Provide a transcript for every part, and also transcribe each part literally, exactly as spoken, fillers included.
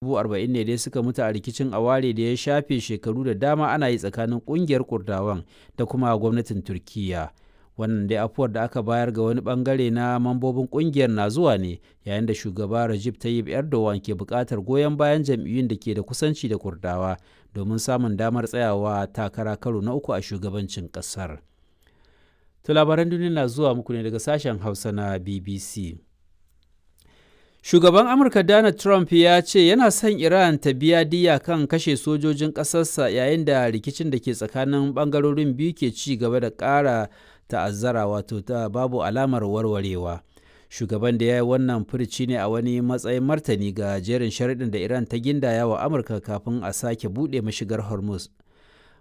Dubu arba'in ne dai suka mutu a rikicin aware da ya shafe shekaru da dama ana yi tsakanin ƙungiyar Kurdawan da kuma gwamnatin Turkiyya. Wannan dai afuwar da aka bayar ga wani ɓangare na mambobin ƙungiyar na zuwa ne yayin da Shugaba Recep Tayyip Erdogan ke buƙatar goyon bayan jam'iyyun da ke da kusanci da Kurdawa domin samun damar tsayawa takara karo na uku a shugabancin ƙasar. To labaran duniya na zuwa muku ne daga sashen Hausa na B B C. Shugaban Amurka Donald Trump ya ce yana son Iran ta biya diyya kan kashe sojojin ƙasarsa yayin da rikicin da ke tsakanin ɓangarorin biyu ke ci gaba da ƙara ta'azzara, wato ta babu alamar warwarewa. Shugaban da ya yi wannan furici ne a wani matsayin martani ga jerin sharuɗin da Iran ta gindaya wa Amurka kafin a sake buɗe mashigar Hormuz.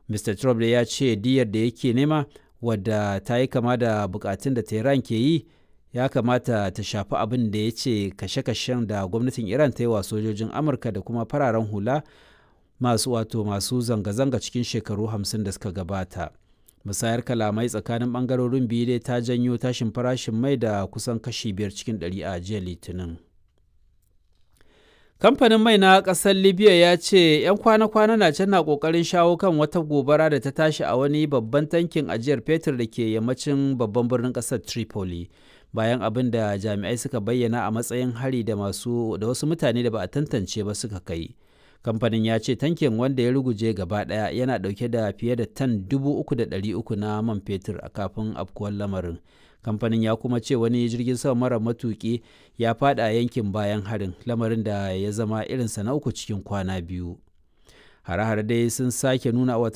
Mister Trump ya ce diyyar da yake nema, wadda ta yi kama da bukatun da Tehran ke yi, ya kamata ta shafi abin da ya ce kashe-kashen da gwamnatin Iran ta yi wa sojojin Amurka da kuma fararen hula masu wato masu zanga-zanga cikin shekaru hamsin da suka gabata. Musayar kalamai tsakanin bangarorin biyu dai ta janyo tashin farashin mai da kusan kashi biyar cikin ɗari a jiya Litinin. Kamfanin mai na ƙasar Libya ya ce 'yan kwana-kwana na can na ƙoƙarin shawo kan wata gobara da ta tashi a wani babban tankin ajiyar fetur da ke yammacin babban birnin ƙasar Tripoli, bayan abin da jami'ai suka bayyana a matsayin hari da masu da wasu mutane da ba a tantance ba suka kai. Kamfanin ya ce tankin, wanda ya ruguje gaba ɗaya, yana ɗauke da fiye da tan dubu uku da ɗari uku na man fetur a kafin afkuwar lamarin. Kamfanin ya kuma ce wani jirgin sama mara matuƙi ya fada yankin bayan harin, lamarin da ya zama irinsa na uku cikin kwana biyu. Hare-hare dai sun sake nuna wata